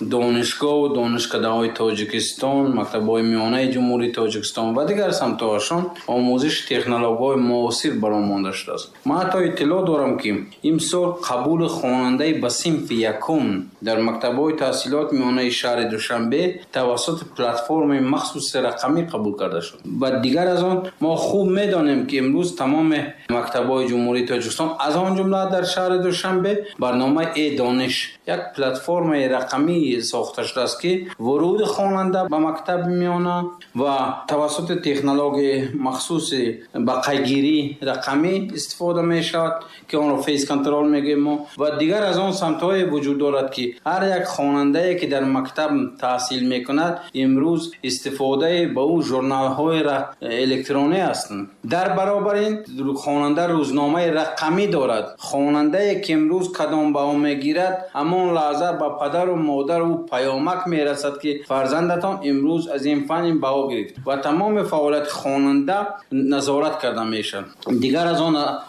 Донишгоҳу донишкадаҳои Тоҷикистон, мактабҳои миёнаи Ҷумҳурии Тоҷикистон ва дигар самтҳояшон омӯзиши технологияҳои муосир баром монда шудааст. Ман ҳатто иттилоъ дорам, ки имсол қабули хонандаи ба синфи якум дар мактабҳои таҳсилоти миёнаи шаҳри Душанбе тавассути платформаи махсуси рақамӣ қабул карда шуд. Ва дигар аз он мо хуб медонем, ки имрӯз тамоми мактабҳои Ҷумҳурии Тоҷикистон, аз он ҷумла дар шаҳри Душанбе, барномаи «Э-дониш», як платформаи рақамӣ сохта шудааст, ки вуруди хонанда ба мактаби миёна ва тавассути технологияи махсуси ба қайдгирии рақамӣ истифода мешавад, ки онро фейс-контрол мегӯем мо. Ва дигар аз он самтҳое вуҷуд дорад, ки ҳар як хонандае, ки дар мактаб таҳсил мекунад, имрӯз истифодаи ба ӯ журналҳои электронӣ ҳастанд. Дар баробари ин хонанда рӯзномаи рақамӣ дорад. Хонандае, ки имрӯз кадом баҳо мегирад, ҳамон лаҳза ба падару модару ӯ паёмак мерасад, ки фарзандатон имрӯз аз ин фан ин баҳо гирифт, ва тамоми фаъолияти хонанда назорат карда мешавад. Дигар аз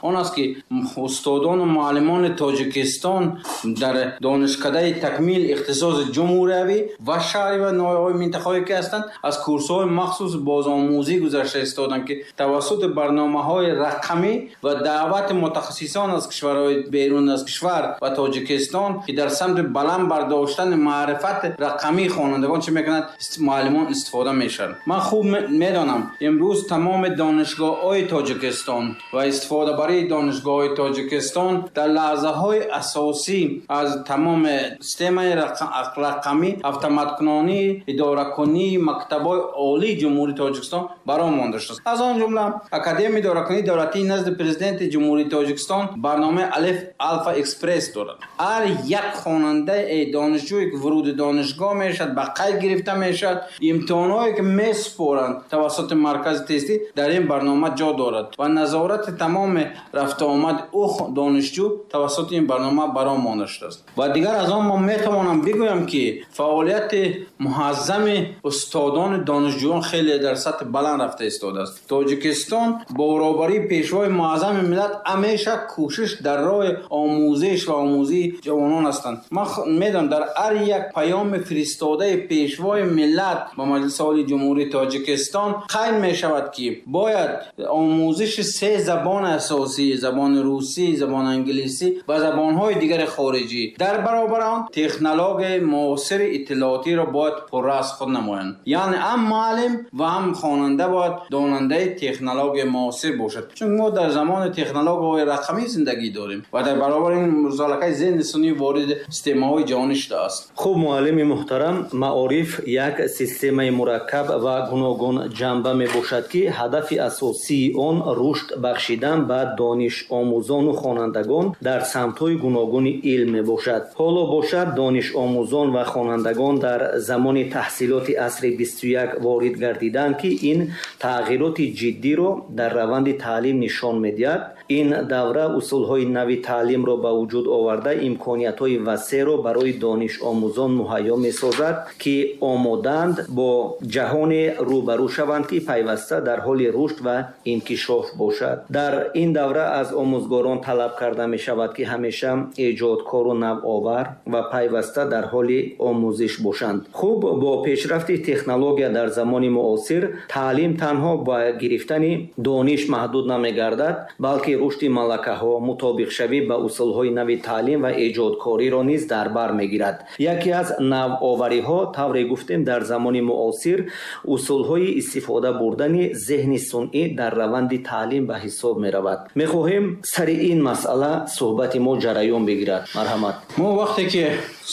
он аст, ки устодону муаллимони Тоҷикистон дар донишкадаи такмил ихтисоси ҷумҳуриявӣ ва шаҳри ва ноҳияҳои минтақаҳое, ки ҳастанд, аз курсҳои махсус бозомӯзӣ гузашта истоданд, ки тавассути барномаҳои рақамӣ ва даъвати мутахассисон аз кишварҳои берун аз кишвар ва Тоҷикистон, ки дар самти баланд бардоштани маърифати рақамии хонандагон чӣ мекунанд, муаллимон истифода мешаванд. Ман хуб медонам, имрӯз тамоми донишгоҳҳои Тоҷикистон ва истифодабарии донишгоҳҳои Тоҷикистон дар лаҳзаҳои асосӣ аз тамоми системаи рақамӣ, автоматкунонии идоракунии мактабҳои олии Ҷумҳурии Тоҷикистон баром монда шудааст. Аз он ҷумла Академияи идоракунии давлатии назди Президенти Ҷумҳурии Тоҷикистон барномаи Алеф Алфа Экспресс дорад. Ҳар як хонандаи донишҷӯе, ки вуруди донишгоҳ мешавад, ба қайд гирифта мешавад. Имтиҳонҳое, ки месупоранд тавассути маркази тестӣ, дар ин барнома ҷо дорад ва назорати тамоми рафтуомади ӯ донишҷӯ тавассути ин барнома баром монда шудааст. Ва дигар аз он мо метавонам бигӯям, ки фаъолияти муҳаззами устодони донишҷӯён хеле дар сатҳи баланд рафта истодааст. Тоҷикистон бо роҳбарии Пешвои муаззами миллат ҳамеша кӯшиш дар роҳи омӯзиш ва омӯзии ҷавонон ҳастанд. Ман медонам, дар ҳар як паёми фиристодаи Пешвои миллат ба Маҷлиси Олии Ҷумҳурии Тоҷикистон қайд мешавад, ки бояд омӯзиши се забони асосӣ: забони русӣ, забони англисӣ ва забонҳои дигари хориҷӣ, дар баробари он технологияи муосири иттилоотиро бояд пурра аз худ намоянд. Яъне ҳам муаллим ва ҳам хонанда бояд донандаи технологияи муосир бошад, чун мо дар замони технологияҳои рақамӣ зиндагӣ дорем ва дар баробари ин музалакаи зеҳни сунъӣ вориди системаҳои ҷаҳонӣ шудааст. Хуб, муаллими муҳтарам, маориф як системаи мураккаб ва гуногунҷанба мебошад, ки ҳадафи асосии он рушд бахшидан ба донишомӯзону хонандагон дар самтҳои гуногуни илм мебошад. Ҳоло бошад, донишомӯзон ва хонандагон дар замони таҳсилоти асри 21 ворид гардиданд, ки ин тағйироти ҷиддиро дар раванди таълим нишон медиҳад. Ин давра усулҳои нави таълимро ба вуҷуд оварда, имкониятҳои васеъро барои донишомӯзон муҳайё месозад, ки омодаанд бо ҷаҳоне рӯбарӯ шаванд, ки пайваста дар ҳоли рушд ва инкишоф бошад. Дар ин давра аз омӯзгорон талаб карда мешавад, ки ҳамеша эҷодкору навовар ва пайваста дар ҳоли омӯзиш бошанд. Хуб, бо пешрафти технология дар замони муосир таълим танҳо ба гирифтани дониш маҳдуд намегардад, балки рушди малакаҳо, мутобиқшавӣ ба усулҳои нави таълим ва эҷодкориро низ дар бар мегирад. Яке аз навовариҳо, тавре гуфтем, дар замони муосир усулҳои истифода бурдани зеҳни сунъӣ дар раванди таълим ба ҳисоб меравад. Мехоҳем сари ин масъала суҳбати мо ҷараён бигирад. Марҳамат. Мо вақте ки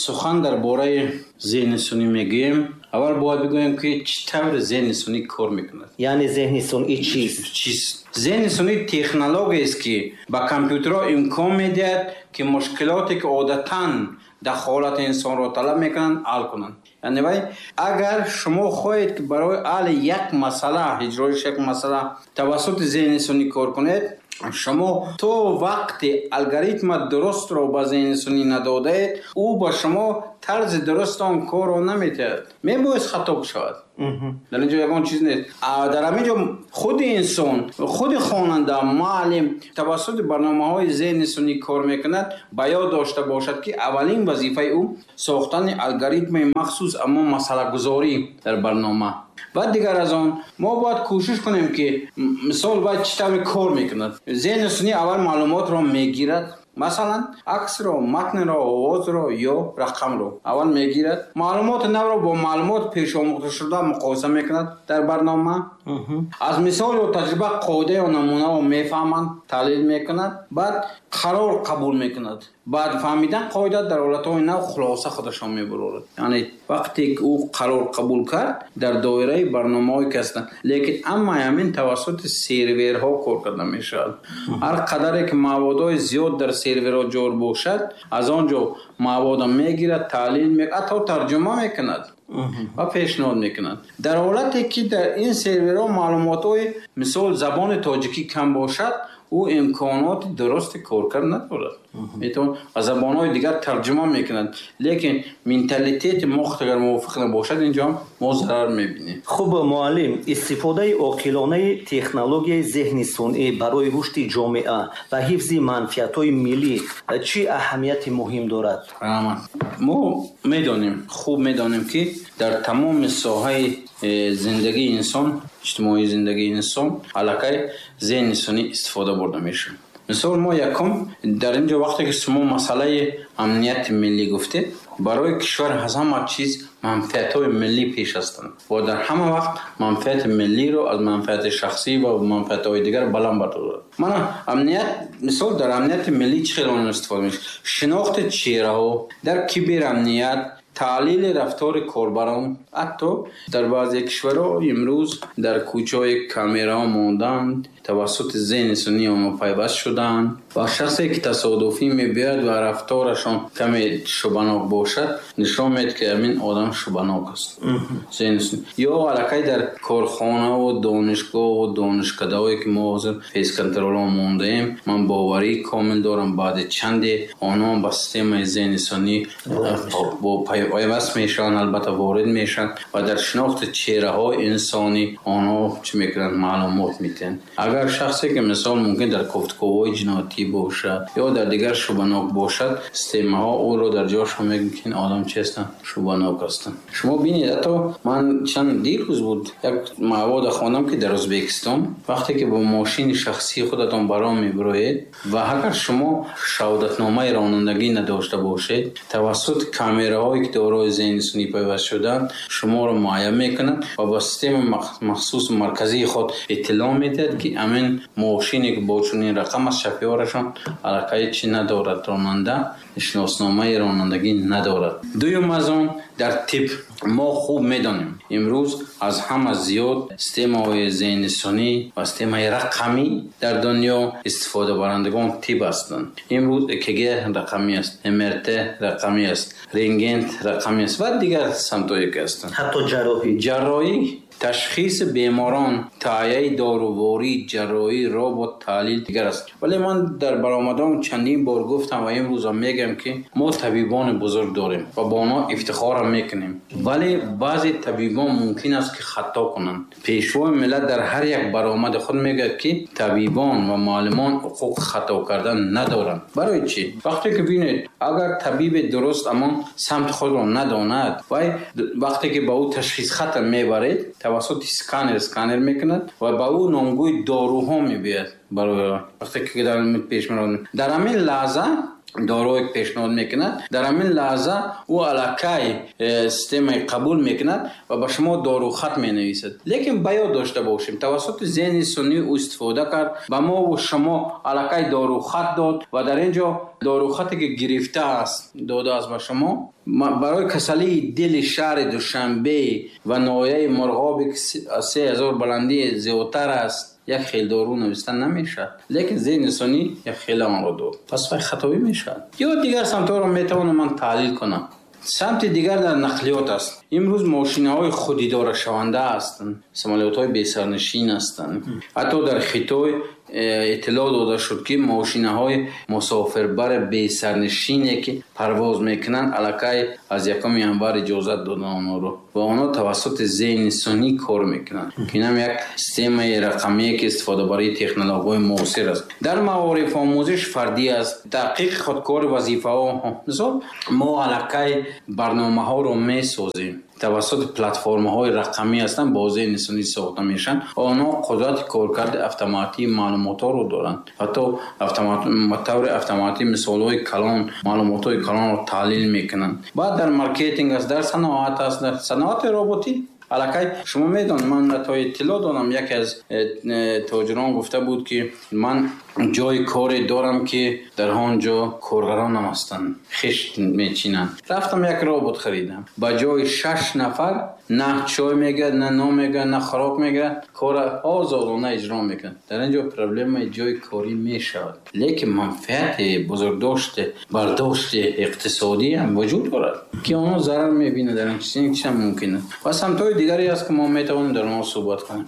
сухан дар бораи зеҳни сунъӣ мегӯем, аввал бояд бигӯем, ки чӣ тавр зеҳни сунъӣ кор мекунад. Яъне зеҳни сунъӣ чист? Чист? Зеҳни сунъӣ технологияест, ки ба компютерҳо имкон медиҳад, ки мушкилоте, ки одатан дахолати инсонро талаб мекунанд, ҳал кунанд. Яъне вай, агар шумо хоҳед, ки барои ҳалли як масъала, иҷроиш як масъала тавассути зеҳни сунъӣ кор кунед, шумо то вақте алгоритма дурустро ба зеҳни сунъӣ надодаед, ӯ ба шумо Тарзи дуруст он корро наметиҳад, мебоист хато шавад. Дар ин ҷо ягон чиз нест. Дар ҳамин ҷо худи инсон, худи хонанда, муаллим тавассути барномаҳои зеҳни сунъӣ кор мекунад, ба ёд дошта бошад, ки аввалин вазифаи ӯ сохтани алгоритми махсус, аммо масъалагузорӣ дар барнома. Ва дигар аз он мо бояд кӯшиш кунем, ки мисол бояд чӣ тавре кор мекунад. Зеҳни сунъӣ аввал маълумотро мегирад, масалан аксро, матнро, овозро ё рақамро аввал мегирад, маълумоти навро бо маълумот пешомӯхташуда муқоиса мекунад дар барнома, аз мисол ё таҷриба қоида ё намунаро мефаҳмад, таҳлил мекунад, баъд қарор қабул мекунад. Баъд фаҳмидан қоида дар ҳолатҳои нав хулоса худашон мебарорад. Яъне вақте ки ӯ қарор қабул кард, дар доираи барномаҳое ки ҳастанд, лекин амма ҳамин тавассути серверҳо кор карда мешавад. Ҳар қадаре ки маводҳои зиёд дар серверҳо ҷор бошад, аз он ҷо маводро мегирад, таҳлил мекунад, ҳатто тарҷума мекунад ва пешниҳод мекунад. Дар ҳолате ки дар ин серверҳо маълумотҳои мисол забони тоҷикӣ кам бошад, ӯ имконоти дурусти коркард надорад. Метавон ба забонҳои дигар тарҷума мекунад, лекин менталитети мо агар мувофиқ набошад, инҷо ҳам мо зарар мебинем. Хуб, муаллим, истифодаи оқилонаи технологияи зеҳни сунъӣ барои рушди ҷомеа ва ҳифзи манфиатҳои миллӣ чӣ аҳамияти муҳим дорад? Раҳмат. Мо медонем, хуб медонем, ки дар тамоми соҳаи зиндагии инсон, иҷтимоии зиндагии инсон аллакай зеҳни сунъӣ истифода бурда мешавад. Мисол, мо якум дар ин ҷо вақте ки шумо масъалаи амнияти миллӣ гуфтед, барои кишвар аз ҳама чиз манфиатҳои миллӣ пеш ҳастанд ва дар ҳама вақт манфиати миллиро аз манфиати шахсӣ ва манфиатҳои дигар баланд бардорад. Мана амният, мисол, дар амнияти миллӣ чӣ хел он истифода мешавад? Шинохти чеҳраҳо, дар киберамният, таҳлили рафтори корбарон. Ҳатто дар баъзе кишварҳо имрӯз дар кӯчаҳои камераҳо монданд, тавассути зеҳни сунъӣ онҳо пайваст шуданд ва шахсе ки тасодуфӣ мебиёяд ва рафторашон каме шубҳанок бошад, нишон медиҳад, ки ҳамин одам шубҳанок аст. Зеҳни сунъӣ. Ё аллакай дар корхонаву донишгоҳу донишкадаҳое ки мо ҳозир фейс-контролҳо мондаем, ман боварии комил дорам, баъди чанде онҳо ба системаи зеҳни сунъӣ бо пайваст мешаванд, албатта ворид мешаванд ва дар шинохти чеҳраҳои инсонӣ онҳо чӣ мекунанд, маълумот медиҳанд. Агар шахсе ки мисол мумкин дар кофтуковҳои ҷиноятӣ бошад ё дар дигар шубҳанок бошад, системаҳо ӯро дар ҷошон мегӯянд, ки ин одам чи ҳастанд, шубҳанок ҳастанд. Шумо бинед, ҳатто ман чанд дирӯз буд як мавода хондам, ки дар Ӯзбекистон вақте ки бо мошини шахсии худатон баром мебироед ва агар шумо шаҳодатномаи ронандагӣ надошта бошед, тавассути камераҳое ки дорои зеҳни сунъӣ пайваст шудаанд, шуморо муайян мекунанд ва ба системаи махсуси марказии худ иттилоъ медиҳад, ки ҳамин мошине ки бо чунин рақам аст, шофёрашон аллакай чӣ надорад, ронанда шиносномаи ронандагӣ надорад. Дуюм аз он дар тиб мо хуб медонем, имрӯз аз ҳама зиёд системаҳои зеҳни сунъӣ ва системаи рақамӣ дар дунё истифодабарандагон тиб ҳастанд. Имрӯз ЭКГ рақамӣ аст, МРТ рақамӣ аст, рентген рақамӣ аст ва дигар самтҳое ки ҳастанд. Ҳатто ҷарроҳӣ. Ҷарроҳӣ, ташхиси беморон, таҳияи доруворӣ, ҷарроҳӣ, робот, таҳлил дигар аст. Вале ман дар баромадам чандин бор гуфтам ва имрӯзам мегӯям, ки мо табибони бузург дорем ва бо онҳо ифтихорам мекунем. Вале баъзе табибон мумкин аст ки хато кунанд. Пешвои миллат дар ҳар як баромади худ мегӯяд, ки табибон ва муаллимон ҳуқуқи хато кардан надоранд. Барои чӣ? Вақте ки бинед, агар табиби дуруст амон самти худро надонад, вай вақте ки ба ӯ ташхис хата мебаред, тавассути сканер сканер мекунад ва ба ӯ номгӯи доруҳо мебиёяд. Барои вақте ки дар пеш меравад, дар ҳамин лаҳза дорое пешниҳод мекунад, дар ҳамин лаҳза ӯ аллакай системаи қабул мекунад ва ба шумо дорухат менависад. Лекин ба ёд дошта бошем, тавассути зеҳни сунъӣ ӯ истифода кард, ба мову шумо аллакай дорухат дод ва дар ин ҷо дорухате ки гирифтааст, додааст ба шумо, барои касалии дили шаҳри Душанбе ва ноҳияи Мурғобе ки аз 3000 баландӣ зиёдтар аст, як хел дору нависта намешавад. Лекин зеҳни сунъӣ як хел онро дод, пас вай хатобӣ мешавад. Ё дигар самтҳоро метавонам ман таҳлил кунам. Самти дигар дар нақлиёт аст. Имрӯз мошинаҳои худидорашаванда ҳастанд, самолётҳои бесарнишин ҳастанд. Ҳатто дар Хитой Иттилоъ дода шуд, ки мошинаҳои мусофирбари бесарнишине, ки парвоз мекунанд, аллакай аз 1 январ иҷозат доданд онҳоро ва онҳо тавассути зеҳни сунъӣ кор мекунанд, ки инам як системаи рақамие, ки истифодабарии технологияҳои муосир аст. Дар маориф омӯзиш фардӣ аст, таҳқиқи худкори вазифаҳо. Мисол, мо аллакай барномаҳоро месозем, тавассути платформаҳои рақамӣ ҳастанд, бо зеҳни сунъӣ сохта мешаванд. Онҳо қудрати коркарди автоматии маълумотҳоро доранд, ҳатто ба таври автоматӣ мисолҳои калон, маълумотҳои калонро таҳлил мекунанд. Баъд дар маркетинг аст, дар саноат аст, дар саноати роботӣ. Аллакай шумо медонед, ман то иттилоъ дорам, яке аз тоҷирон гуфта буд, ки ман ҷои коре дорам, ки дар он ҷо коргаронам ҳастанд, хишт мечинанд. Рафтам, як робот харидам, ба ҷои 6 нафар на чой мегирад, на нон мегирад, на хӯрок мегирад, кора озодона иҷро мекунад. Дар ин ҷо проблемаи ҷои корӣ мешавад, лекин манфиати бузургдошти бардошти иқтисодӣ ҳам вуҷуд дорад, ки онҳо зарар мебинад. Дар ин чиз ин чиз ҳам мумкин аст ва самтҳои дигаре аст, ки мо метавонем дар онҳо суҳбат кунем.